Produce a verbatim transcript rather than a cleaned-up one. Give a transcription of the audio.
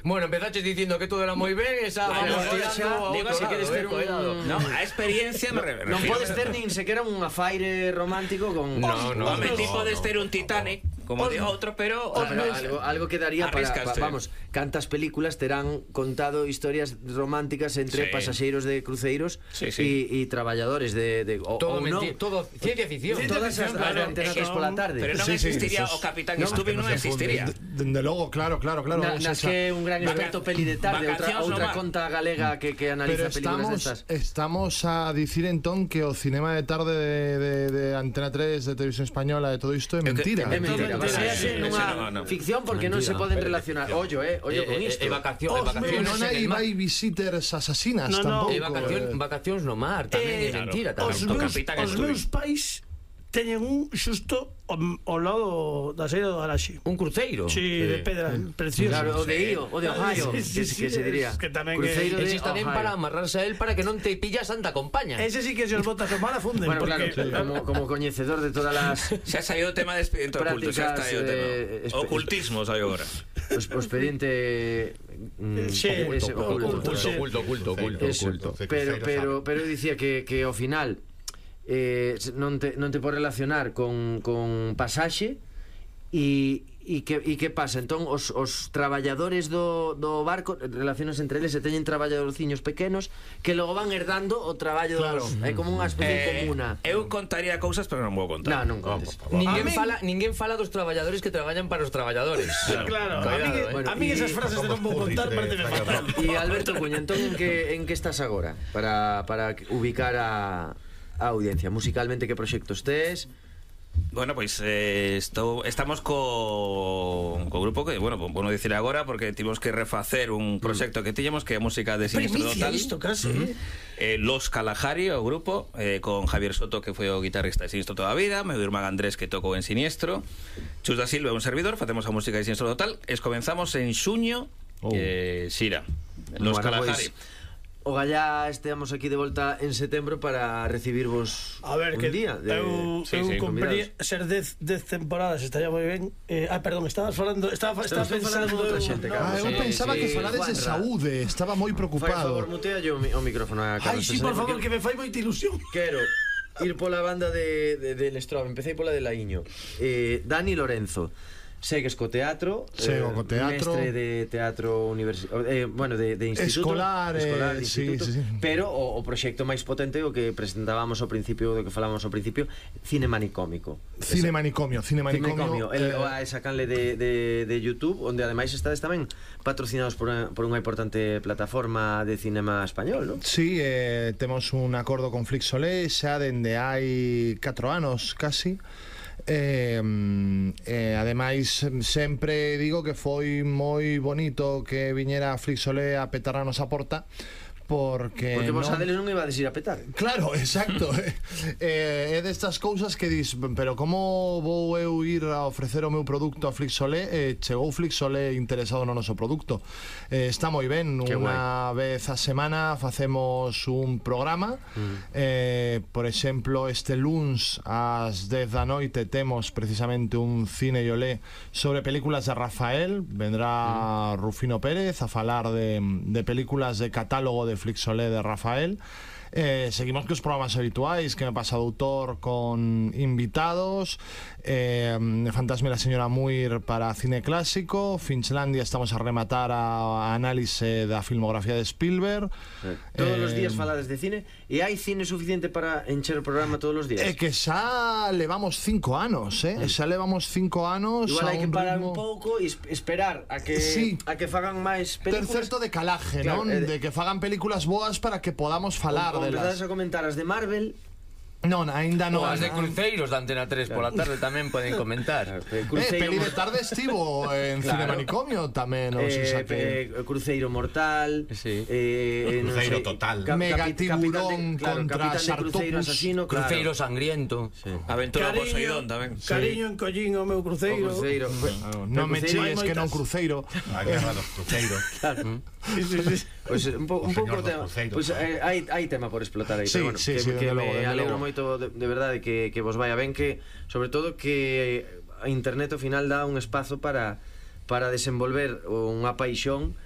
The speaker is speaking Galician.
Bueno, empezaches dicindo que todo era moi ben, esa vamos tirando. Digo, se queres ter un... No, a experiencia me refiro. Non podes ter nin sequera un afaire romántico con... No, no. Home, ti podes ter un Titanic, como de outro, pero... Algo, algo que daría para, pa, Arriscaste. vamos, cantas películas terán contado historias románticas entre Sí. pasaxeiros de cruceiros Sí, sí. e traballadores de, de o, Todo ou non. mentira, todo ciencia ficción. Todas as Claro, antenas é que pola tarde. Pero non Sí, sí, existiría eso es- o Capitán no, Stubing, que non no se existiría. funde. Dende logo, claro, claro, claro. Na, o nas sea, que un gran Vaca- experto peli de tarde, outra, vacacións outra no mar. conta galega que, que analiza Pero películas estamos, destas. estamos a dicir entón que o cinema de tarde de, de, de Antena tres, de Televisión Española, de todo isto é mentira. É mentira, Todo baséase mentira. nunha No, no. ficción porque non se Mentira. poden relacionar. Ollo, eh, ollo con isto. E vacación, e Que vacacións non hai en el mar. vai visiters asasinas No, no. tampouco. E vacación, eh. vacacións no mar, tamén é Eh, mentira, Os tamén. O meus, Capitán os Stubing. meus pais teñen un xusto ao, ao lado da saída do garaxe. Un cruceiro. Sí, de pedra, precioso. Claro, o de Io, o de Ohio, Sí, sí, que, sí, que se diría. es que tamén Cruceiro que- de Ese está ben Ohio. para amarrarse a él para que non te pilla Santa Compaña. Ese sí que se os botas o mar afunden. Bueno, claro, porque, como, como coñecedor de todas las Xa saiu o tema de expediente oculto, xa está aí o Prácticas, tema. eh, espe- Ocultismo saiu agora. o, o expediente mm, Sí, ese, oculto, oculto, sí. oculto, oculto, oculto. Eso, pero, pero, pero eu dicía que, que ao final eh, non, te, non te podes relacionar con, con pasaxe e, e, que, e que pasa? Entón os, os traballadores do, do barco relaciones entre eles e teñen traballadorciños pequenos que logo van herdando o traballo Claro. dos, é como unha especie Eh, comuna. eu contaría cousas, pero non vou contar. Non, non contes. Ninguén A min- fala, ninguén fala dos traballadores que traballan para os traballadores. Claro, a mí, Cuidado, que- eh. a mí y- esas frases de non vou contar parece fatal. E Alberto Cuña, entón en que, en que estás agora para, para ubicar a, a audiencia? Musicalmente que proxectos tes? Bueno, pois eh, estou, estamos co, co grupo que, bueno, bueno dicir agora porque tivemos que refacer un proxecto que tiñamos que é música de Sinistro Primicia Total. isto, casi. eh, Los Kalahari, o grupo, eh, con Javier Soto, que foi o guitarrista de Sinistro toda a vida, meu irmán Andrés, que tocou en Siniestro, Chus da Silva, un servidor, facemos a música de Sinistro Total, es comenzamos en xuño, Oh. eh, Xira, Los Bueno, Kalahari. pois, o gallá estamos aquí de volta en setembro para recibirvos A ver, un que día de, eu, sí, eu sí, compraría convidados. ser dez, dez temporadas, estaría moi ben. Eh, ah, perdón, estabas falando, estaba, estaba Estamos pensando falando de outra eu- xente, no, Ah, eu Sí, pensaba sí, que falades de Juanra. saúde, estaba moi Fai, por preocupado. favor, mutea yo o micrófono a Ai, Carlos sí, Pesare, por favor, porque que me fai moita ilusión. quero ir pola banda de, de, de Lestrobe. Empecé pola de Laíño. eh, Dani Lorenzo, segues co teatro, Sigo co teatro. mestre de teatro universitario, eh, bueno, de, de instituto, Escolar, eh, escolar de sí, instituto, sí, sí. pero o, o proxecto máis potente o que presentábamos ao principio, do que falábamos ao principio, cine manicómico. Cine manicomio, cine Manicomio, manicomio. el, eh, o esa canle de, de, de YouTube, onde ademais estades tamén patrocinados por unha, por unha importante plataforma de cinema español, non? Sí, eh, temos un acordo con Flixolé xa dende hai catro anos casi. Eh, eh, ademais sempre digo que foi moi bonito que viñera Flixolé a petarnos a porta porque, Porque vos non... a deles non iba a desir a petar. Claro, exacto. eh, é destas cousas que dis, pero como vou eu ir a ofrecer o meu produto a Flixolé? Eh, chegou Flixolé interesado no noso produto. Eh, está moi ben, Qué unha vez a semana facemos un programa. Mm. Eh, por exemplo, este luns ás dez da noite temos precisamente un cine e olé sobre películas de Rafael. Vendrá mm. Rufino Pérez a falar de, de películas de catálogo de Flixolé de Rafael. Eh, seguimos cos programas habituais que me pasa doutor con invitados, eh, Fantasma e la señora Muir para cine clásico, Finchlandia estamos a rematar a, a análise da filmografía de Spielberg. Eh, todos eh, os días falades de cine e hai cine suficiente para encher o programa todos os días. É que xa levamos cinco anos, eh? Mm. Xa levamos cinco anos. Igual a hai que un parar ritmo... un pouco e es- esperar a que Sí. a que fagan máis Ter películas. certo de calaje, Claro, non? eh, De que fagan películas boas para que podamos falar o, o empezades delas. a comentar as de Marvel. Non, aínda non. Ou as de cruceiros da Antena tres pola tarde tamén poden comentar. Eh, Eh, peli de tarde estivo en Claro. Cine Manicomio tamén, non sei eh, xa que... eh, Cruceiro Mortal, Sí. eh, non Cruceiro sei, total. capitán Megatiburón de, claro, contra capitán de Cruceiro Sartopus. asasino, claro. Cruceiro sangriento. Sí. Aventura Poseidón tamén. Cariño en collín o meu O cruceiro. Cruceiro. Non me Cruceiro hai chilles que non moitas. cruceiro. A guerra dos cruceiros. Claro. Sí, sí, sí. Pois pues, un, po, un O pouco señor dos tema. cruceiros. Pois pues, eh, hai hai tema por explotar aí, Sí, pero bueno, sí, que, sí, que dende me logo, dende alegro logo. moito de, de verdade que que vos vaya ben, que sobre todo que a internet ao final dá un espazo para para desenvolver unha paixón